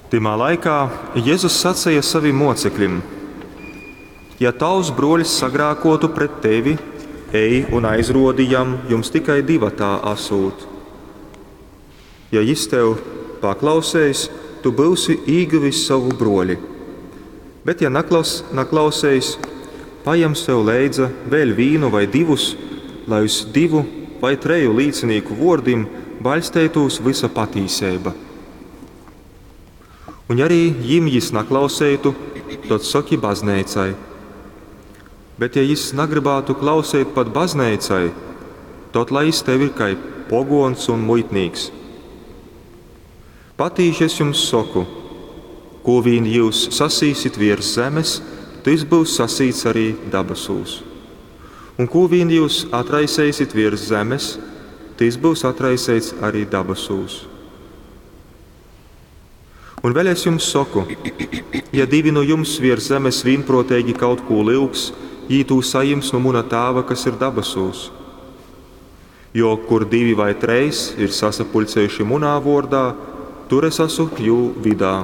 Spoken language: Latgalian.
Tymā laikā Jezus saceja savim mōcekļim: Ja tavs brōļs sagrākōtu pret tevi, ej un aizrōdi jam, jums tikai divatā asūt. Ja jys tev paklauseis, tu byusi īgyvis sovu brōli. Bet ja naklaus, naklauseis, pajem sev leidza vēļ vīnu vai divus, lai uz divu vai treju līcinīku vōrdim baļsteitūs vysa patīseiba. Un ja arī jim jys naklauseitu, tod soki bazneicai. Bet ja jys nagrybātu klauseit pat bazneicai, tod lai jys tev ir kai pogōns un muitnīks. Patīši es jums soku, kū vīn jyus sasīsit viers zemes, tys byus sasīts arī dabasūs. Un kū vīn jyus atraiseisit viers zemes, tys byus atraiseits arī dabasūs. Un vēļ es jums soku, ja divi nu jums viers zemes vīnprōteigi kaut kū lyugs, jī tū sajims nu muna Tāva, kas ir dabasūs. Jo kur divi vai trejs ir sasapuļcējuši munā vōrdā, tur es asu jū vydā.